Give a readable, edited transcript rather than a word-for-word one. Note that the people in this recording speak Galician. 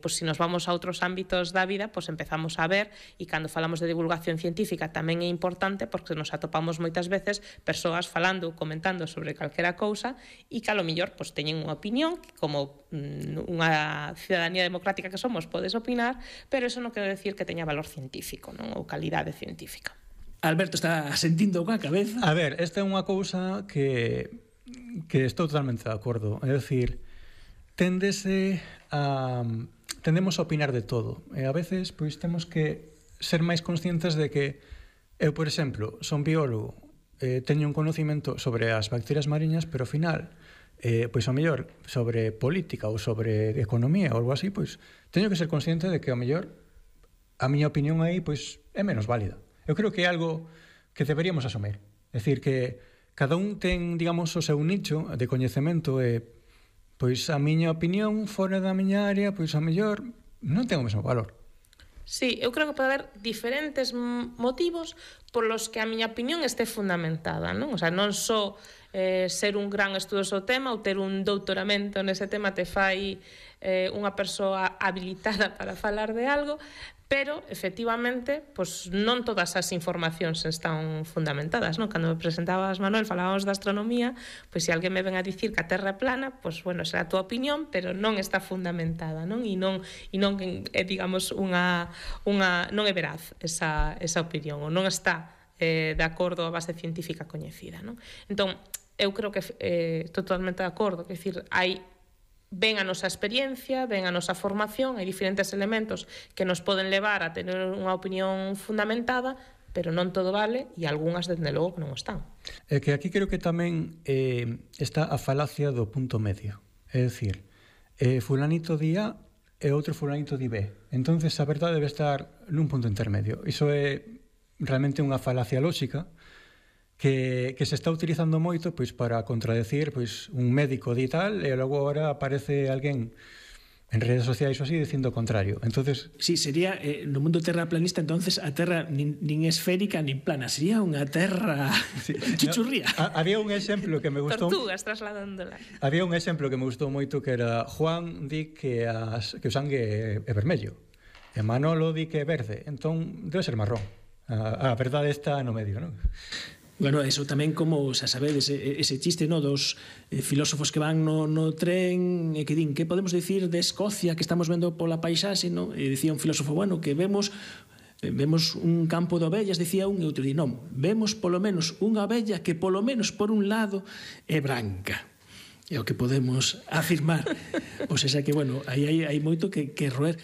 Pois se nos vamos a outros ámbitos da vida, pois empezamos a ver, e cando falamos de divulgación científica tamén é importante porque nos atopamos moitas veces persoas falando, comentando sobre calquera cousa e que a lo millor pois teñen unha opinión que como unha ciudadanía democrática que somos podes opinar, pero eso non quere decir que teña valor científico, non? Ou calidade científica. Alberto está sentindo coa cabeza. A ver, esta é unha cousa que estou totalmente de acordo. É dicir, tendemos a opinar de todo e a veces pois temos que ser máis conscientes de que eu, por exemplo, son biólogo, teño un conocimento sobre as bacterias mariñas, pero ao final pois ao mellor sobre política ou sobre economía ou algo así, pois teño que ser consciente de que ao mellor a miña opinión aí pois é menos válida. Eu creo que é algo que deberíamos asumir. É dicir, que cada un ten, digamos, o seu nicho de coñecemento e pois a miña opinión fora da miña área, pois a mellor non ten o mesmo valor. Sí, eu creo que pode haber diferentes motivos polos que a miña opinión este fundamentada, non? O sea, non só ser un gran estudoso tema ou ter un doutoramento nese tema te fai unha persoa habilitada para falar de algo, pero, efectivamente, pois non todas as informacións están fundamentadas, non? Cando me presentabas, Manuel, falábamos da astronomía, pois se alguén me ven a dicir que a Terra é plana, pois, bueno, será a túa opinión, pero non está fundamentada, non? E non é, digamos, non é veraz esa opinión, ou non está de acordo a base científica coñecida, non? Entón, eu creo que estou totalmente de acordo, que decir, ven a nosa experiencia, ven a nosa formación, hai diferentes elementos que nos poden levar a tener unha opinión fundamentada, pero non todo vale e algunhas, dende logo, que non están. É que aquí creo que tamén está a falacia do punto medio. É dicir, fulanito di A e outro fulanito di B. Entonces a verdade debe estar nun punto intermedio. Iso é realmente unha falacia lóxica que se está utilizando moito pois para contradecir pois un médico di tal e logo agora aparece alguén en redes sociais ou así dicindo o contrario. Entonces, sí, sería no mundo terraplanista, entonces a Terra nin esférica nin plana, sería unha Terra chuchurría. No, había un exemplo que me gustou. Tortugas trasladándola. Había un exemplo que me gustou moito que era Juan di que o sangue é vermello e Manolo di que é verde, entón debe ser marrón. A verdade está no medio, non? Bueno, eso tamén como, xa sabedes, ese chiste, no, dos filósofos que van no tren e que din, que podemos dicir de Escocia que estamos vendo pola paisaxe, no? E dicía un filósofo, bueno, que vemos un campo de ovellas, decía un, e outro di, non, vemos polo menos unha ovella que polo menos por un lado é branca. É o que podemos afirmar. Pois é que, bueno, aí hai moito que roer.